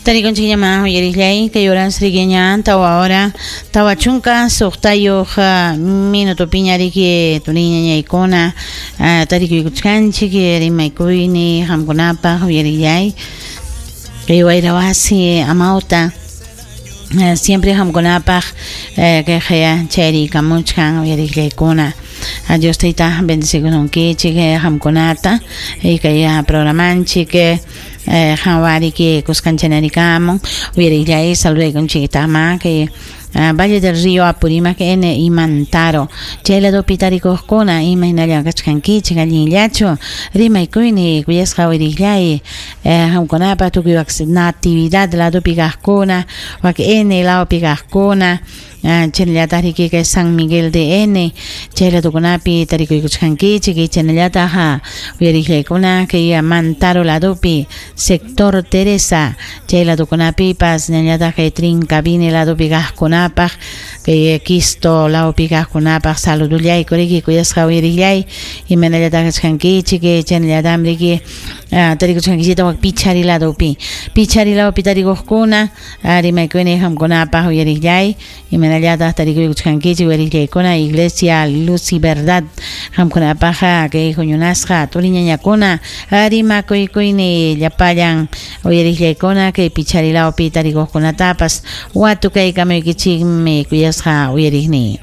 Tarikunchikñamá uyariqllay kay horas rikiña 4 hora 46 minutopiña riki turiñañaykuna tarikuykuchkanchik rimaykuyni qamkunapaq uyariqllay kay wayra wasi amawta siempre qamkunapaq kayqaya chayriykamuchkan uyariqllaykuna. Dios Tayta bendecikusunkichik qamkunata kay programanchik qanwariki kuskanchanerikamun uyariqllay saludaykunchiktaqma kay Valle del Río Apurímac N y Mantaro chay ladopi tarikuqkuna imaynalla kachkankichik allinllachu rimaykuyni kuyasqa uyariqllay qamkunapaq tukuy Natividad ladopi kaqkuna wak N lawpi kaqkuna chaynallataq riki kay San Miguel de N chay ladokunapi tarikuykuchkankichik chaynallataq uyariqllaykuna kay Mantaro ladopi sector Teresa chay ladokunapipas chaynallataq kay Trincavine ladopi kaqkunapaq kay Quisto lawpi kaqkunapaq saludullayku riki kuyasqa uyariqllay imaynallataq kachkankichik chaynallataq riki tarikuchkankichik wak Pichari ladopi Pichari lawpi tarikuqkuna rimaykuyni qamkunapaq uyariqllay imaynallataq tarikuykuchkankichik uyariqllaykuna Iglesia Luz y Verdad qamkunapaq kay huñunasqa turiñañakuna rimakuykuyni llapallan uyariqllaykuna kay Pichari lawpi tarikuqkunatapas watukaykamuykichikmi kuyasqa uyariqniy.